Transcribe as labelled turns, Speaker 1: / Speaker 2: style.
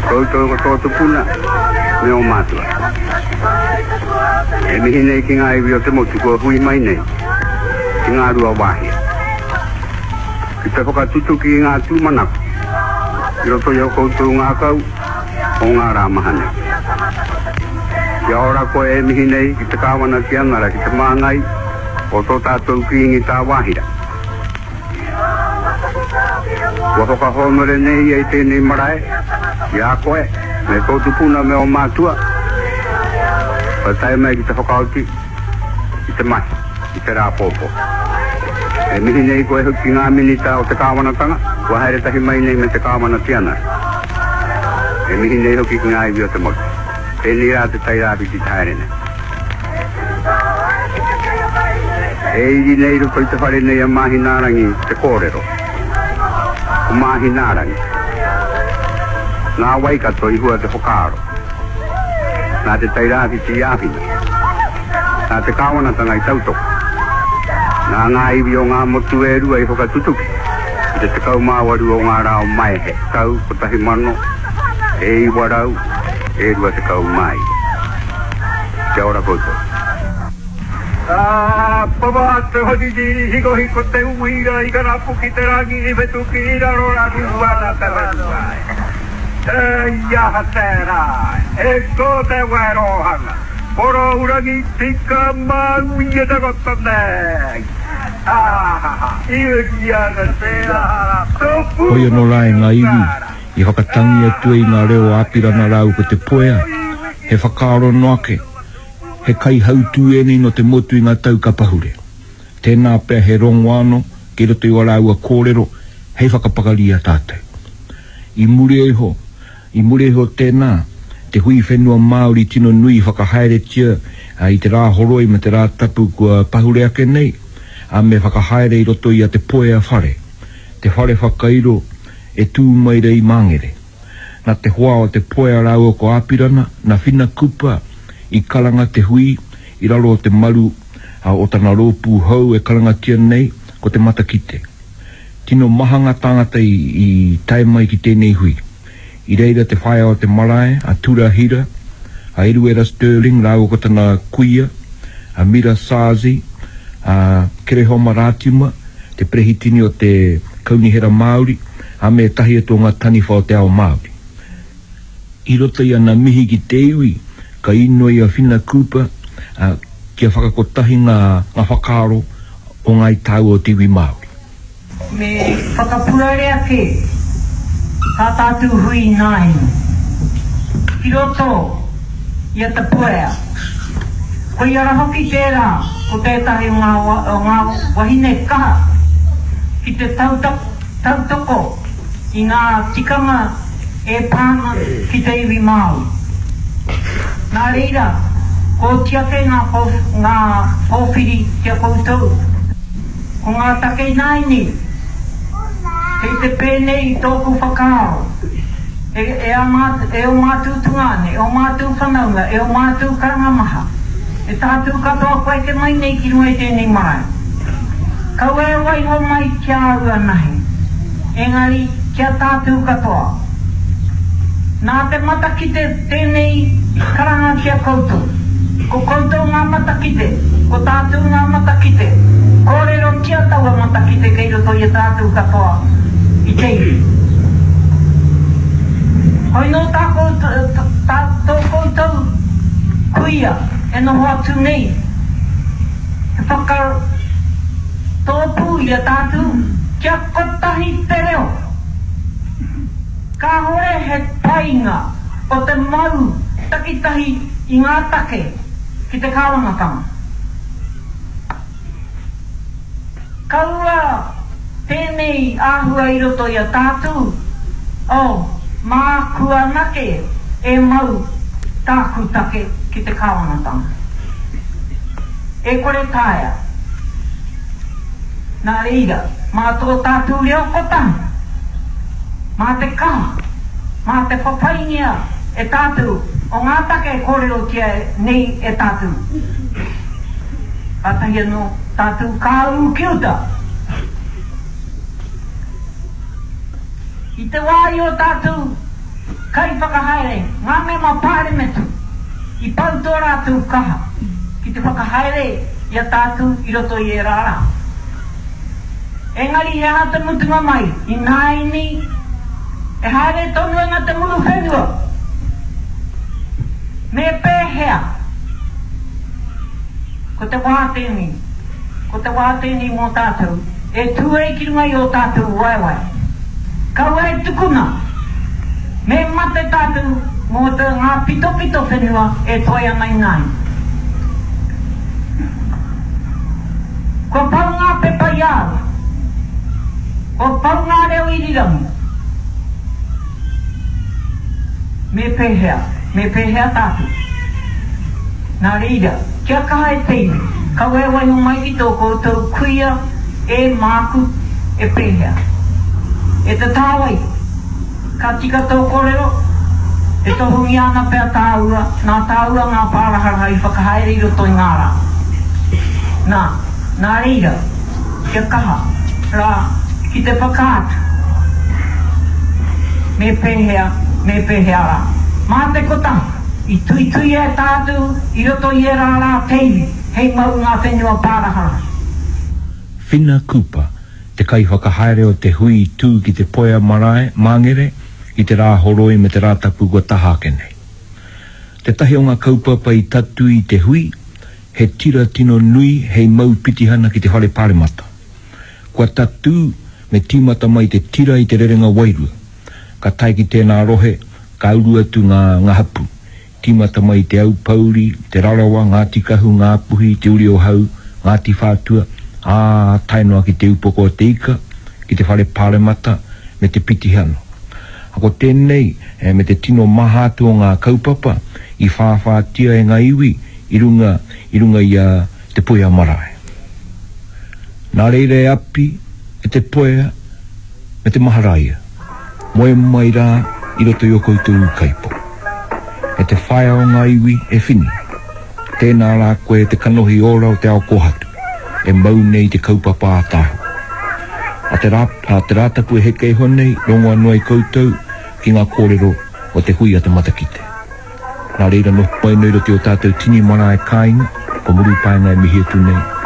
Speaker 1: Koutou ko tō tupuna me ō mātua. E mihi nei ki ngā iwi o te motu kua hui mai nei ki Ngāruawāhia ki te whakatutuki i ngā tūmanako i roto i ō koutou ngākau o ngā rā maha nei. Kia ora koe e mihi nei ki te Kāwana Tianara ki te māngai o tō tātou Kīngi Tāwāhira. Kua whakahōnore nei ia i tēnei marae i a koe me tō tupuna me ō mātua kua tae mai ki te whakaoti i te mahi i te rā pōpō. E mihi nei koe hoki ki ngā minita o te kāwanatanga kua haere tahi mai nei me te Kāwana Tianara. E mihi nei hoki ki ngā iwi o te motu. Tēnei rā te Tairāwhiti te haere nei. E iri nei i roto i te whare nei a Māhinaarangi te kōrero. Ko Māhinaarangi. Nā Waikato i hua te whakaaro. Nā Te Tairāwhiti i āwhina. Nā te kāwanatanga i tautoko. Nā ngā iwi o ngā motu e rua i whakatutuki i te 18 o ngā rā o Maehe, tau 1929. Kia ora koutou.
Speaker 2: Ka papa te horiri hikohiko te uira i karapu ki te rangi i whetuki i raro raru ana te whenua e i aha tērā e ko te werohanga porourangi tika māui e takoto nei ahaha i uri ana tērā tōku
Speaker 3: Hoi anō rā e ngā iwi i whakatangi atu ai i ngā reo o Apirana rāua ko Te Puea, he whakaaro noa ake, he kaihautū ēnei nō te motu i ngā tau ka pahure. Tēnā pea he rongo anō kei roto i wā rāua kōrero hei whakapakari i a tātou. I muri iho, i muri iho tēnā, te hui whenua Māori tino nui i whakahaeretia i te Rāhoroi me te Rātapu kua pahure ake nei, ā, me whakahaere i roto i a Te Puea whare, te whare whakairo e tū mai rei Māngere. Na te hoa o Te Puea rāua ko Āpirana, na Whina Cooper i karanga te hui i raro o te maru o tana rōpū hou e karangatia nei ko Te Matakite. Tino maha ngā tāngata i tae mai ki tēnei hui. I reira te whaea o te marae, a Tura Hira, a Eruera Stirling rāua ko tana kuia, a Mira Sazi, a Kerehoma Rātima, te perehitini o te Kaunihera Māori, ā, me ētahi atu o ngā taniwha o te ao Māori. I roto i ana mihi ki te iwi, ka inoi a Whina Cooper, ā, kia whakakotahi ngā whakaaro o Ngāi Tāua o te iwi Māori.
Speaker 4: Me whakapuare ake tā tātou hui ināianei ki roto i a Te Puea. Koia ra hoki tērā ko tētahi o ngā wahine kaha ki te tautoko i ngā tikanga e pā ana ki te iwi Māori. Nā reira, kua oti ake ngā pōwhiri ki a koutou. Ko ngā take ināianei, kei te pēnei i tōku whakaaro, e, e ā mātou, e ō mātou tungāne, e ō mātou whanaunga, e ō mātou karanga maha, e tātou katoa kua eke mai nei ki runga i tēnei marae. Kaua e waiho mai ki a au anahe, engari ki a tātou katoa. Nā te matakite tēnei karanga ki a koutou. Ko koutou ngā matakite, ko tātou ngā matakite. Kōrerotia taua matakite kei roto i a tātou katoa i te iwi. Hoi nō tā koutou, tā tō koutou kuia e noho atu nei, he whakatōpū i a tātou kia kotahi te reo. Kāhore he painga o te mau takitahi i ngā take ki te kāwanatanga. Kaua tēnei āhua i roto i a tātou, oh, māku anake e mau tāku take ki te kāwanatanga. E kore taea. Nā reira, mā tō tātou reo kotahi, mā te kaha, mā te whawhaingia e tātou o ngā take e kōrerotia nei e tātou, kātahi anō tātou ka ū ki uta. I te wā i ō tātou. Kaiwhakahaere, ngā mema pāremeta i pau tō rātou kaha ki te whakahaere i a tātou i roto i ērā rā. Engari he aha te mutunga mai, ināianei e haere tonu ana te muru whenua. Me pēhea? Ko te wā tēnei, ko te wā tēnei mō tātou e tū ai ki runga i ō tātou waewae. Kaua e tukuna, me mate tātou mō te ngā pitopito whenua e toe ana ināianei. Kua pau ngā pepa i a au. Kua pau ngā reo irirangi. Me pēhea, me pēhea tātou? Nā reira, kia kaha e te iwi, kaua e waiho mai ki tō koutou kuia e māku e pēhea. E te tāwai, ka tika tō kōrero, e tohungia ana pea tāua, nā tāua ngā pāraharaha i whakahaere i roto i ngā rā. Nā, nā reira, kia kaha rā ki te whakaatu me pēhea, me pēhea rā. Mā te kotahi, i tuituia e tātou i roto i ērā rā te iwi hei mau ngā whenua pāraharaha.
Speaker 3: Whina Cooper, te kaiwhakahaere o te hui i tū ki Te Puea Marae, Māngere, i te Rāhoroi me te Rātapu kua taha ake nei. Tētahi o ngā kaupapa i tatū i te hui, he tira tino nui hei mau pitihana ki te Whare Pāremata. Kua tatū me tīmata mai te tira i te rerenga wairua. Ka tae ki tēnā rohe, ka uru atu ngā ngā hapū. Tīmata mai i Te Aupōuri, Te Rarawa, Ngāti Kahu, Ngāpuhi, Te Uri o Hau, Ngāti Whātua, ā, tae noa ki Te Upoko o Te Ika, ki te Whare Pāremata me te pitihana. Ko tēnei me te tino maha atu o ngā kaupapa i whāwhātia e ngā iwi i runga i runga i a Te Puea Marae. Nā reira e Api, e Te Puea, me te Maharaia, moe mai rā i roto i ō koutou ūkaipō. E te whaea o ngā iwi, e Whini, tēnā rā koe te kanohi ora o te ao kōhatu, e mau nei te kaupapa ātaahua. A te rā, a te Rātapu e heke iho nei, rongo anō ai koutou ki ngā kōrero o te hui a te matakite. Nā reira noho mai nei roto i ō tātou tini marae kāinga, ko Murupaenga e mihi atu nei.